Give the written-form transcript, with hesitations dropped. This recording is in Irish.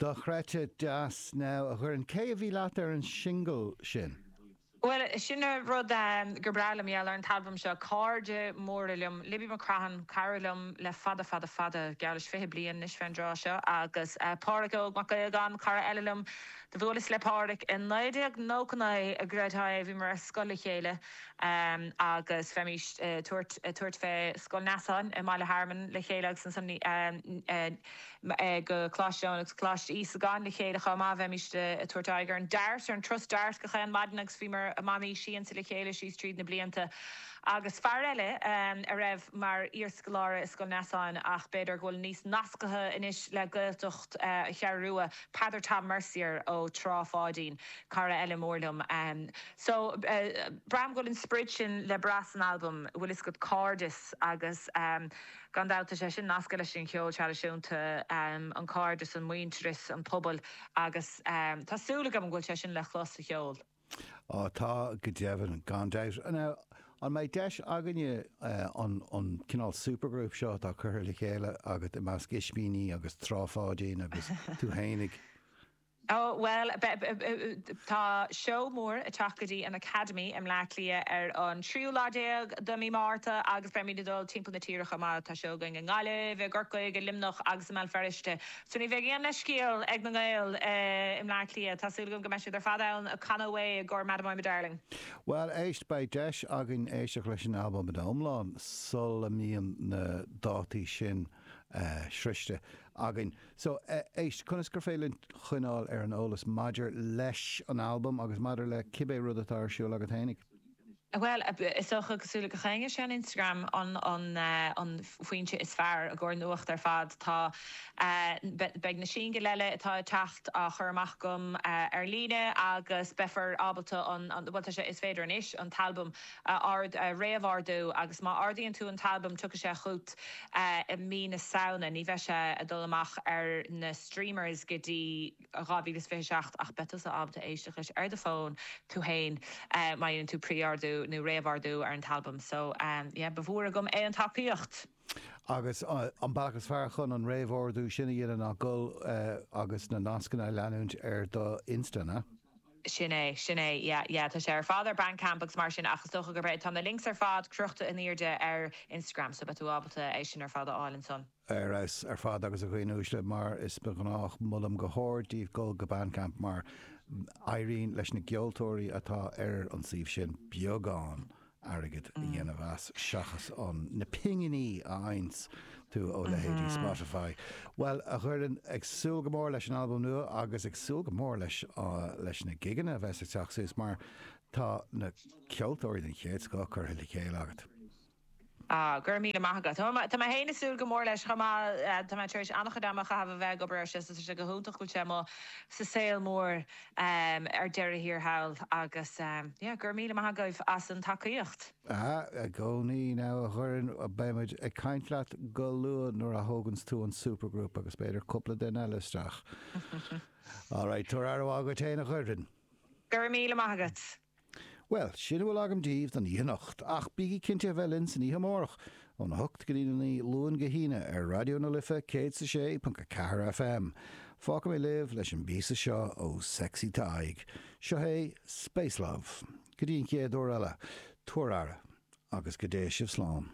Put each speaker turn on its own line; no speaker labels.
Dochreidte deas now a Dhoireann. Cé a bhí leat ar an singil sin?
Bhuel, sin an rud gur breá liom, gheall ar an t-albam seo. Cairde móra liom, Libby McCrohan, cara liom le fada fada fada, geall leis 20 bliain anois fén dtráth seo, agus Pádhraic Óg Mac Aodhagáin, cara eile liom. Do bhuaileas le Pádhraic i 1999, an gcreidfeá é, bhíomar ar scoil le chéile agus bheimís ag tabhairt, ag tabhairt fé Scoil Neasáin i mBaile Hearmann le chéile agus ansan go Coláiste Eoin agus Coláiste Íosagáin le chéile chomh maith. Bheimís ag tabhairt aghaidh ar an Dart, ar an turas Dart gach aon maidin agus bhíomar i mbannaí siansa le chéile síos tríd na blianta. Agus fear eile a raibh mar iarscoláire i Scoil Neasáin ach b'fhéidir go bhfuil níos nasctha anois le Gaeltacht Cheathrú Rua, Peadar Tom Mercier ó Trá Pháidín, cara eile mór liom. So, braithim go bhfuil an sprid sin le brath san albam, bhfuil fhios agat, cairdeas agus. Gan dabht, tá sé sin nasctha leis an cheol traidisiúnta, an cairdeas, an muintearas, an pobal agus tá súil agam go bhfuil sé sin le clos sa cheol.
Á tá, go deimhin, gan dabht. Now, an mbeidh deis againne an an cineál supergroup seo atá curtha le chéile agat i measc Ispíní agus Trá Pháidín agus tú fhéinig?
Ó, bhuel, tá seó mór ag teacht go dtí an Academy i mBleá Cliath ar an tríú lá déag de mí Márta agus beimid ag dul timpeall na tíre chomh maith. Tá seó againn i nGaillimh, i gCorcaigh, i Luimneach agus i mBéal Feirste. So ní bheidh aon leithscéal ag na Gaeil i mBleá Cliath. Tá súil agam go mbeidh siad ar fad ann ag canadh away i gcomhair Madam I'm a Darling.
Bhuel, éist, beidh deis againn éisteacht leis an albam ina iomlán sula mbíonn na dátaí sin sroichte againn. So, éist, conas gur féidir linn coinneáil ar an eolas maidir leis an albam agus maidir le cibé rud atá ar siúl agat fhéinig?
Bhuel, is dócha, cosúil le gach éinne, sé an Instagram an an foinse is fearr i gcomhair nuacht ar fad. Tá, beidh na singil eile atá ag teacht á chur amach agam ar líne agus beifear ábalta an, bhuel tá sé, is féidir anois an t-albam a ord, a réamhordú agus má ordaíonn tú an t-albam tiocfaidh sé chugat i mí na Samhna. Ní bheidh sé ag dul amach ar na streamers go dtí 2027 ach beidh tusa ábalta éisteacht leis ar do fón tú fhéin má dhéanann tú pre-ordú nó réamhordú ar an t-albam. So yeah, ba mhór agam é an tacaíocht.
Agus an bealach is fearr chun an réamhordú sin a dhéanamh ná dul agus na nascanna a leanúint ar do Insta, an ea?
Sin é, sin é, yeah, yeah, tá sé ar fad ar Bandcamp agus mar sin ach is dócha gurb é, tá na links ar fad crochta in airde ar Instagram so beidh tú ábalta é sin ar fad a fháil ansan.
Ar fheabhas ar fad agus a dhaoine uaisle, mar is ba ghnách, molaim go hard daoibh dul go Bandcamp mar éiríonn leis na gceoltóirí atá ar an suíomh sin beagán airgead a dhéanamh as seachas an na pinginí a fhaigheanns tú ó leithéidí Spotify. Bhuel, a Dhoireann, ag súil go mór leis an albam nua agus ag súil go mór leis leis na gigeanna a bheas ag teacht suas mar tá na ceoltóirí den chéad scoth curtha le chéile agat.
Ah, go raibh míle maith agat. Tá mé féin ag súil go mór leis chomh maith. Tá mé tar éis an-chuid ama a chaitheamh a bheith ag obair air seo so tá sé go hiontach go bhfuil sé amuigh sa saol mór ar deireadh thiar thall agus yeah, go raibh míle maith agaibh as an tacaíocht.
Ah, i gcónaí now a Dhoireann, beidh muid ag caint leat go luath nuair a thóganns tú an supergroup agus b'fhéidir cúpla duine eile isteach. Alright, tabhair aire mhaith dhuit fhéin a Dhoireann.
Go raibh míle maith agat.
Bhuel, sin a bhfuil agam daoibh don oíche anocht, ach bígí cinnte a bheith linn san oíche amárach, óna hocht go dtí a 9, Luan go hAoine, ar Raidió na Life 106.4 FM. Fágfaidh mé libh leis an bpíosa seo ó Sexy Tadhg. Seo é Space Love. Go dtí an chéad uair eile, tabhair aire, agus go dté sibh slán.